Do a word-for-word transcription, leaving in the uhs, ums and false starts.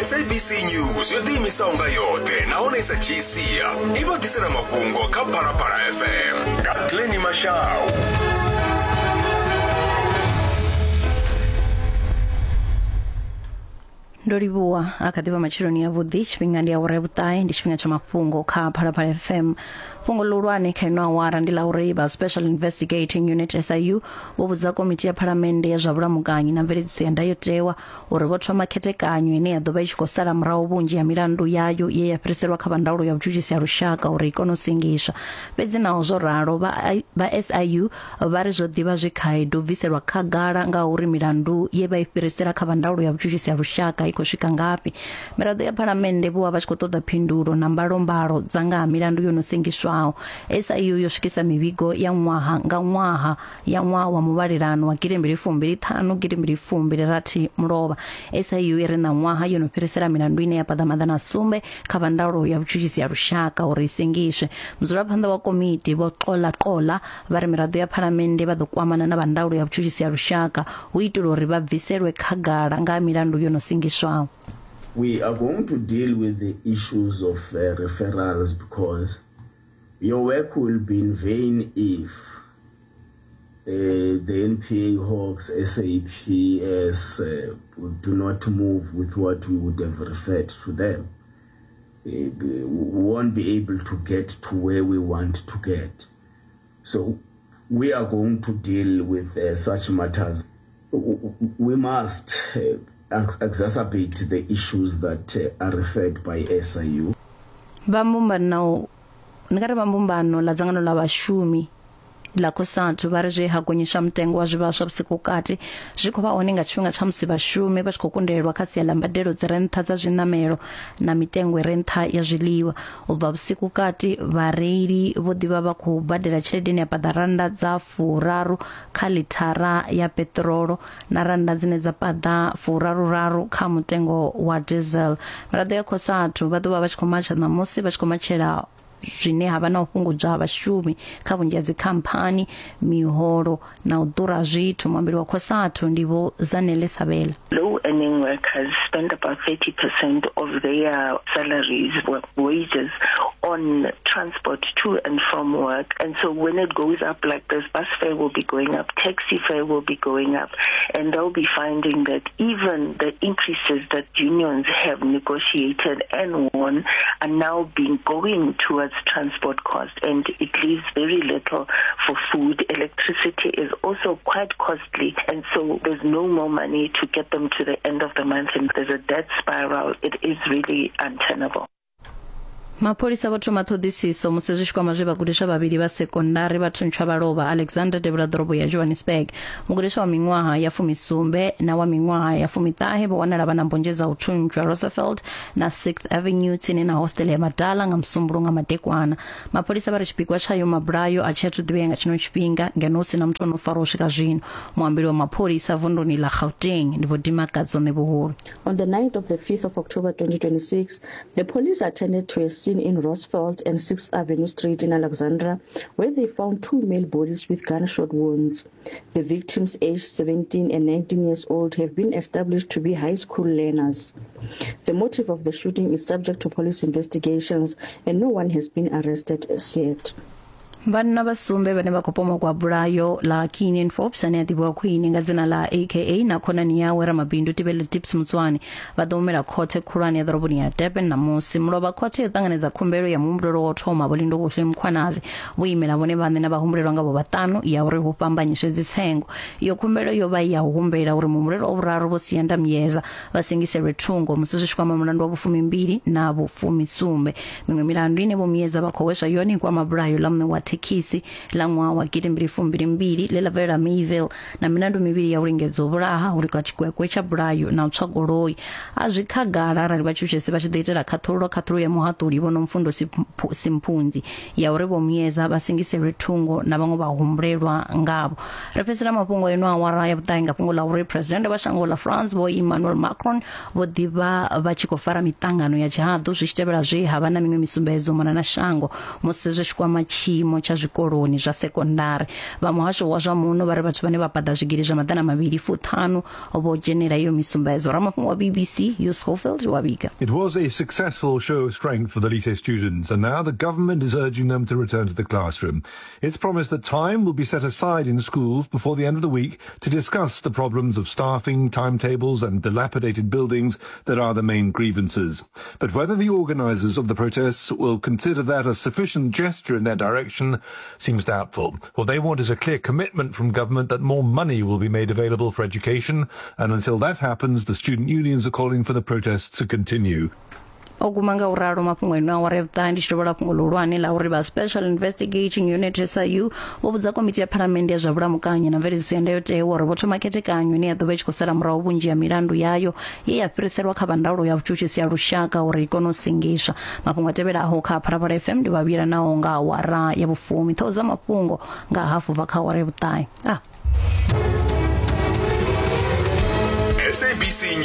S A B C News yo ḓiimisaho nga yoṱhe nahone i sa dzhii sia i vha ḓisela mafhungo kha Phalaphala F M nga Glennie Mashau. Ndo livhuwa a kha ḓivha matsheloni ya vhuḓi, tshifhinga ndi awara ya vhuṱahe, ndi tshifhinga tsha mafhungo kha Phalaphala F M. Fhungo ḽihulwane kha ino awara ndi ḽa uri vha Special Investigating Unit S I U vho vhudza komiti ya phalamennde ya zwa vhulamukanyi na mveledziso ya ndayotewa uri vho thoma khethekanyo ine ya ḓo vha i tshi khou sala murahu vhunzhi ha milandu yayo ye ya fhiriselwa kha vha ndaulo ya vhutshutshisi ha lushaka uri i kone u sengiswa. Fhedzi naho zwo ralo, vha S I U vha ri zwo ḓivha zwi khaedu bviselwa khagala ngauri milandu ye vha i fhirisela kha vha ndaulo ya vhutshutshisi ha lushaka i khou swika ngafhi. Miraḓo ya phalamennde vho vha vha tshi khou ṱoḓa phindulo na mbalombalo dza nga ha milandu yo no sengiswaho. S I U yo swikisa mivhigo ya ṅwaha nga ṅwaha ya ṅwaha wa muvhalelano wa gidimbili fumbili ṱhanu gidimbili fumbili rathi mulovha. S I U i ri na ṅwaha yo no fhirisela milandu ine ya paḓa maḓana sumbe kha vha ndaulo ya vhutshutshisi ya lushaka uri i sengiswe. Mudzulaphanḓa wa komiti vho Qola Qola vha ri miraḓo ya phalamennde vha ḓo kwamana na vha ndaulo ya vhutshutshisi ya lushaka hu itela uri vha bviselwe khagala nga milandu yo no sengiswaho. We are going to deal with the issues of uh, referrals because your work will be in vain if uh, the N P A, Hawks, S A P S uh, do not move with what we would have referred to them. Uh, we won't be able to get to where we want to get. So we are going to deal with uh, such matters. We must uh, exacerbate the issues that uh, are referred by S I U. Vha mbumbano ndi nga ri vha mbumbano ḽa dzangano ḽa vhashumi ḽa COSATU vha ri zwe ha gonyiswa mutengo wa zwivhaswa vhusiku kati zwi khou vha hone nga tshifhinga tsha musi vhashumi vha tshi khou kundelwa kha sia ḽa mbadelo dzi re nṱha dza zwiṋamelo na mitengo i re nṱha ya zwiḽiwa. U bva vhusiku kati vhareili vho ḓivha vha khou badela tshelede ine ya paḓa rannda dza furaru kha ḽithara ya peṱirolo na rannda dzine dza paḓa furaruraru kha mutengo wa diesel. Miraḓo ya COSATU vha ḓo vha vha tshi khou matsha ṋamusi vha tshi khou matshela zwine ha vha na u fhungudzwa ha vhashumi kha vhunzhi ha dzikhamphani, miholo na u ḓura zwithu. Muambeli wa COSATU ndi Vho Zanele Sabela. Low earning workers spend about thirty percent of their salaries, wages on transport to and from work. And so when it goes up like this, bus fare will be going up, taxi fare will be going up, and they'll be finding that even the increases that unions have negotiated and won are now being going towards transport cost, and it leaves very little for food. Electricity is also quite costly, and so there's no more money to get them to the end of the month, and there's a debt spiral. It is really untenable. Mapholisa vho thoma ṱhoḓisiso musi zwi tshi kwama zwe vhagudiswa vhavhili vha sekondari vha thuntshwa vha lovha Alexander Devhula ḓorobo ya Johannesburg. Mugudiswa wa miṅwaha ya fumisumbe na wa miṅwaha ya fumiṱahe vho wanala vha na mbonzhe dza u thuntshwa Roosevelt na sixth Avenue tsini na hostel ya Madala nga Musumbuluwo nga madekwana. Mapholisa vha ri tshipikwa tshayo mabulayo a tshi athu ḓivhea nga tshino tshifhinga ngeno hu si na muthu ono farwa u swika zwino. Muambeli wa mapholisa vunduni ḽa Gauteng ndi Vho Dimakadzo Ṋevhuhulu. On the night of the fifth of October twenty twenty-six, the police attended to a scene in Roosevelt and sixth Avenue Street in Alexandra, where they found two male bodies with gunshot wounds. The victims, aged seventeen and nineteen years old, have been established to be high school learners. The motive of the shooting is subject to police investigations, and no one has been arrested as yet. Vhanna vha sumbe vhane vha khou pomokwa bulayo ḽa Keenan Forbes ane a ḓivhiwa khwine nga dzina ḽa A K A na khonani yawe ramabindu Tibele Tips Mutswani vha ḓo humela khothe khulwane ya ḓoroboni ya Durban ṋamusi. Mulovha khothe yo ṱanganedza khumbelo ya muhumbulelwa wa u thoma Vho Lindokuhle Mkhwanazi vho imela vhone vhaṋe na vhahumbulelwa nga vho vhaṱanu ya uri hu fhambanyiswe dzitsengo. Iyo khumbelo yo vha ya u humbela uri muhumbulelwa wa vhuraru Vho Siyanda Myeza vha sengiselwe thungo musi zwi tshi kwama mulandu wa vhufumimbili na vhufumisumbe. Miṅwe milandu ine Vho Myeza vha khou hweswa yone i kwama bulayo ḽa muṋe wa thekhisi ḽa ṅwaha wa gidi mbili fumbili mbili ḽe ḽa bvelela Mayville na milandu mivhili ya u lingedza u vhulaha uri kwa tshikwekwe tsha bulayo na u tswa goloi. A zwi khagala arali vhatshutshisi vha tshi ḓo itela khaṱhululo khaṱhululo ya muhaṱuli Vho Nomfundo Simphunzi ya uri Vho Myeza vha sengiselwe thungo na vhaṅwe vha humbulelwa ngavho. Ri fhedzisela mafhungo eno awara ya vhuṱahe nga fhungo ḽa uri President wa shango ḽa France Vho Emmanuel Macron vho ḓivha vha tshi khou fara miṱangano ya tshihaḓu zwi tshi tevhela zwe ha vha na miṅwe misumbedzo mona na shango musi zwi tshi kwama tshiimo tsha zwikoloni zwa sekondari. Vha muhasho wa zwa muno vha ri vhathu vhane vha paḓa zwigidi zwa maḓana mavhili fuṱhanu vho dzhenela iyo misumbedzo. Ramafhungo wa B B C Hugh Schofield wa vhiga. It was a successful show of strength for the Lycée students, and now the government is urging them to return to the classroom. It's promised that time will be set aside in schools before the end of the week to discuss the problems of staffing, timetables and dilapidated buildings that are the main grievances. But whether the organisers of the protests will consider that a sufficient gesture in their direction seems doubtful. What they want is a clear commitment from government that more money will be made available for education, and until that happens, the student unions are calling for the protests to continue. O guma nga u ralo mafhungo ino awara ya vhuṱahe ndi tshi tovhola fhungo ḽihulwane ḽa uri vha Special Investigating Unit S I U vho vhudza komiti ya phalamennde ya zwa vhulamukanyi na mveledziso ya ndayotewa uri vho thoma khethekanyo ine ya ḓo vha i tshi khou sala murahu vhunzhi ha milandu yayo ye ya fhiriselwa kha vha ndaulo ya vhutshutshisi ya lushaka uri i kone u sengiswa. Mafhungo a tevhelaho kha Phalaphala F M ndi vha vhuyela nao nga awara ya vhufumi. Ṱhoho dza mafhungo nga hafu bva kha awara ya vhuṱahe. Ah. S A B C.